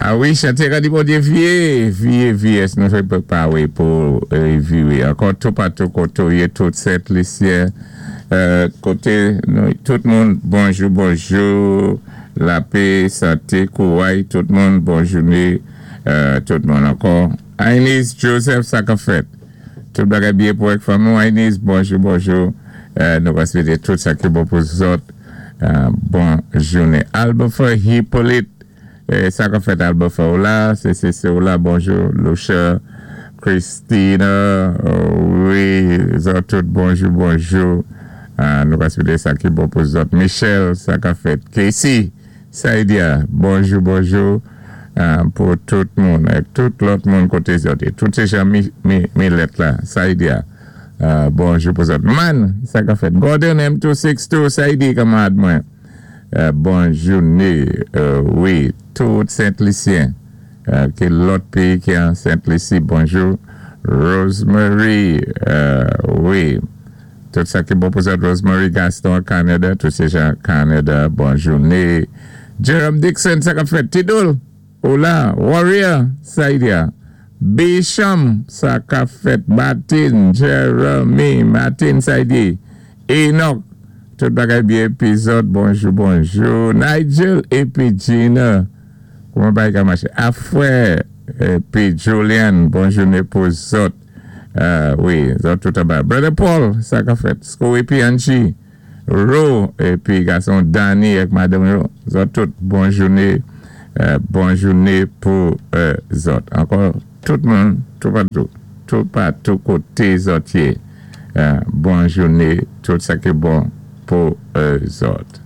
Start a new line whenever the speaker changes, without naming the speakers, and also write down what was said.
A wi, chanté ranni Bondyé vye, vye, vye, nou fè pwépawé pou viwé. Ankò toupatou koté ou yé, tout Sent Lisyen, koté nou, tout moun, bonjou, bonjou, lapé, santé, kouray, tout moun, bon jouné, tout moun ankò. Ainis Joseph, sa k ap fèt? Tout bagay byen pou ak fanmi ou, Ainis? Bonjou, bonjou, nou va swété tout sa ki bon pou zòt. Bon jounen. Albefer Hyppolite, sa k ap fèt, Albefer? Ou la? CCC ou la? Bonjou. Loucher Christina, wi, zòt tout, bonjou, bonjou. Nou va swété sa ki bon pou zòt. Michel, sa k ap fèt? Casey Saidia, bonjou, bonjou pou tout moun ak tout lòt moun koté zòt yé. Tout sé jan Milèt la, Saidia, bonjou pou zòt. Man, sa k ap fèt? Gordon M262, Saidi, kanmarad mwen, bon jouné, wi, tout Sent Lisyen, ki lòt péyi ki an Sent Lisi, bonjou. Rosemary, wi. Tout sa ki bon pou zòt. Rosemary Gaston, Canada, tout sé jan Canada, bon jouné. Jerome Dixon, sa k ap fèt? Tidoul, ou la? Warrior, Saidia, Bisham, sa k ap fèt? Martin, Jeremy, Martin, Saidi, Enoch, tout bagay byen pi zòt, bonjou, bonjou. Nigel épi Gina, kouman bagay ka maché? Afrè épi Julian, bon jouné pou zòt. Wi, zòt tout anba. Brother Paul, sa k ap fèt? Sko épi Angie, Ro épi gason Danny ak madanm yo, zòt tout, bon jouné, bon jouné pou zòt. Ankò tout moun toupatou, toupatou koté zòt yé, bon jouné, tout sa ki bon pou zòt.